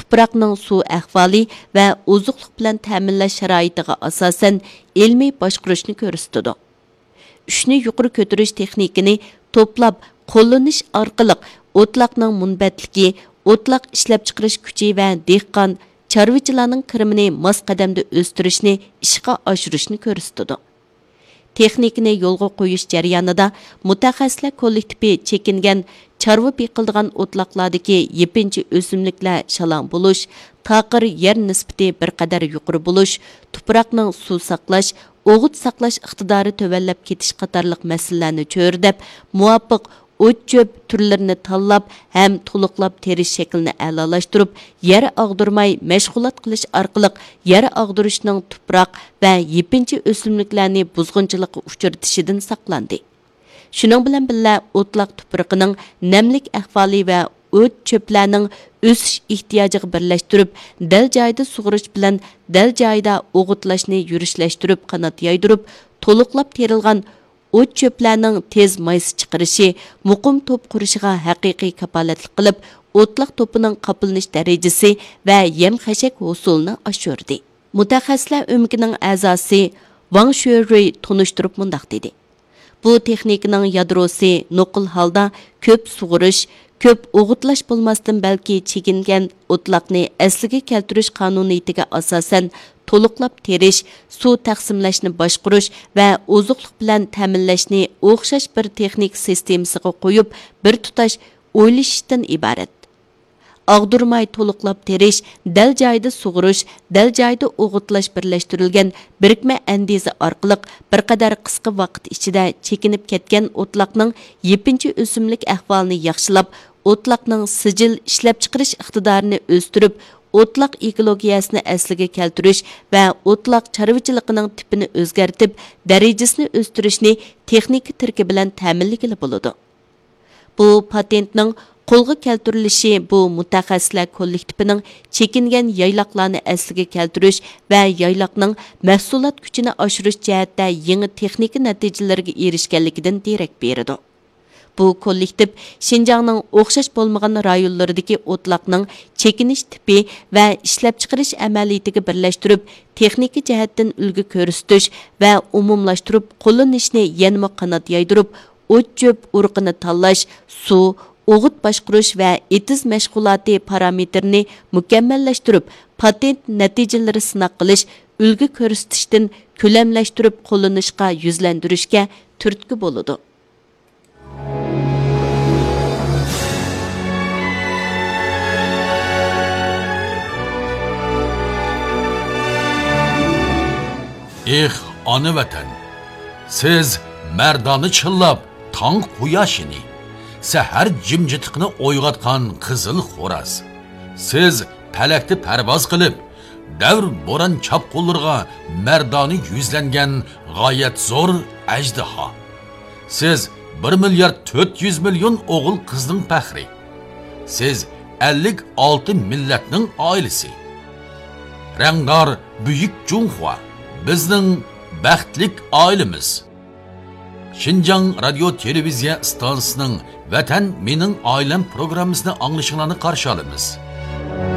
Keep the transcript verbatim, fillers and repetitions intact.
تۇپراقنىڭ سۇ ئەھۋالى ۋە ئوزۇقلۇق بىلەن تەمىنلەش شارائىتىغا ئاساسەن ئىلمىي باشقۇرۇشنى كۆرسىتىدۇ. ئۈچنى يۇقىرى كۆتۈرۈش تېخنىكىنى توپلاپ قوللىنىش ئارقىلىق ئوتلاقنىڭ مۇنبەتلىكى، ئوتلاق ئىشلەپچىقىرىش كۈچى ۋە دېھقان، چارۋىچىلارنىڭ كىرىمىنى ماس قەدەمدە ئۆستۈرۈشنى ئىشقا ئاشۇرۇشنى كۆرسىتىدۇ. تېخنىكىنى يولغا قويۇش جەريانىدا مۇتەخەسسىسلەر كوللېكتىپى چېكىنگەن چارۋا بېقىلىدىغان ئوتلاقلاردىكى يېپىنچا ئۆسۈملۈكلەر شالاڭ بولۇش، تاقىر يەر نىسبىتى بىر قەدەر يۇقىرى بولۇش، تۇپراقنىڭ سۇ ساقلاش، ئوغۇت ساقلاش ئىقتىدارى تۆۋەنلەپ كېتىش قاتارلىق مەسىلىلەرنى چۆرىدەپ، مۇۋاپىق ئوت-چۆپ تۈرلىرىنى تاللاپ ھەم تولۇقلاپ تېرىش شەكلىنى ئەلالاشتۇرۇپ، يەر ئاغدۇرماي مەشغۇلات قىلىش ئارقىلىق يەر ئاغدۇرۇشنىڭ تۇپراق ۋە يېپىنچا ئۆسۈملۈكلەرنى بۇزغۇنچىلىققا ئۇچرىتىشىدىن ساقلاندى. شۇنىڭ بىلەن بىللە، ئوتلاق تۇپرىقىنىڭ نەملىك ئەھۋالى ۋە ئوت-چۆپلەرنىڭ ئۆسۈش ئېھتىياجىغا بىرلەشتۈرۈپ، دەل جايىدا سۇغىرىش بىلەن دەل جايىدا ئوغۇتلاشنى يۈرۈشلەشتۈرۈپ قانات يايدۇرۇپ، تولۇقلاپ تېرىلغان ئوت-چۆپلەرنىڭ تېز مايسا چىقىرىشى، مۇقىم توپ قۇرۇشىغا ھەقىقىي كاپالەتلىك قىلىپ، ئوتلاق توپىنىڭ قاپلىنىش دەرىجىسى ۋە يەم-خەشەك ھوسۇلىنى ئاشۇردى. مۇتەخەسسىسلەر ئۆمىكىنىڭ ئەزاسى ۋاڭ شۆرۈي تونۇشتۇرۇپ مۇنداق دېدى: بۇ تېخنىكىنىڭ يادروسى نوقۇل ھالدا كۆپ سۇغىرىش، كۆپ ئوغۇتلاش بولماستىن، بەلكى چېكىنگەن ئوتلاقنى ئەسلىگە كەلتۈرۈش قانۇنىيىتىگە ئاساسەن تولۇقلاپ تېرىش، سۇ تەقسىملەشنى باشقۇرۇش ۋە ئوزۇقلۇق بىلەن تەمىنلەشنى ئوخشاش بىر تېخنىكا سىستېمىسىغا قويۇپ، بىر تۇتاش ئويلىشىشتىن ئىبارەت. ئاغدۇرماي تولۇقلاپ تېرىش، دەل جايىدا سۇغىرىش، دەل جايىدا ئوغۇتلاش بىرلەشتۈرۈلگەن بىرىكمە ئەندىزە ئارقىلىق بىر قەدەر قىسقا ۋاقىت ئىچىدە چېكىنىپ كەتكەن ئوتلاقنىڭ يېپىنچا ئۆسۈملۈك ئەھۋالىنى ياخشىلاپ، ئوتلاقنىڭ سىجىل ئىشلەپچىقىرىش ئىقتىدارىنى ئۆستۈرۈپ، ئوتلاق ئېكولوگىيەسىنى ئەسلىگە كەلتۈرۈش ۋە ئوتلاق چارۋىچىلىقىنىڭ تىپىنى ئۆزگەرتىپ، دەرىجىسىنى ئۆستۈرۈشنى تېخنىكا تىرىكى بىلەن تەمىنلىگىلى بولىدۇ. بۇ پاتېنتنىڭ قولغا كەلتۈرۈلۈشى بۇ مۇتەخەسسىسلەر كوللېكتىپىنىڭ چېكىنگەن يايلاقلارنى ئەسلىگە كەلتۈرۈش ۋە يايلاقنىڭ مەھسۇلات كۈچىنى ئاشۇرۇش جەھەتتە يېڭى تېخنىكا نەتىجىلىرىگە ئېرىشكەنلىكىدىن دېرەك بېرىدۇ. بۇ كوللېكتىپ شىنجاڭنىڭ ئوخشاش بولمىغان رايونلىرىدىكى ئوتلاقنىڭ چېكىنىش تىپى ۋە ئىشلەپچىقىرىش ئەمەلىيىتىگە بىرلەشتۈرۈپ، تېخنىكا جەھەتتىن ئۈلگە كۆرسىتىش ۋە ئومۇملاشتۇرۇپ قوللىنىشنى يەنىمۇ قانات يايدۇرۇپ، ئوت-چۆپ ئۇرۇقىنى تاللاش، سۇ، ئوغۇت باشقۇرۇش ۋە ئېتىز مەشغۇلاتى پارامېتىرىنى مۇكەممەللەشتۈرۈپ، پاتېنت نەتىجىلىرى سىناق قىلىش، ئۈلگە كۆرسىتىشتىن كۆلەملەشتۈرۈپ قوللىنىشقا يۈزلەندۈرۈشكە تۈرتكە بولىدۇ. ئېھ، ئانا ۋەتەن! سىز مەردانە چىللاپ تاڭ قۇياشىنى، سەھەر جىمجىتلىقىنى ئويغاتقان قىزىل خوراز. سىز پەلەكتە پەرۋاز قىلىپ، دەۋر بوران چاپقۇنلىرىغا مەردانە يۈزلەنگەن غايەت زور ئەجدىھا. سىز بىر مىليارد تۆت يۈز مىليون ئوغۇل-قىزنىڭ پەخرى. سىز ئەللىك ئالتە مىللەتنىڭ ئائىلىسى. رەڭدار بۈيۈك جۇڭخۇا، بىزنىڭ بەختلىك ئائىلىمىز. شىنجاڭ رادىيو تېلېۋىزىيە ئىستانسىسىنىڭ ۋەتەن مېنىڭ ئائىلەم پروگراممىسىنى ئاڭلىشىڭلارنى قارشى ئالىمىز.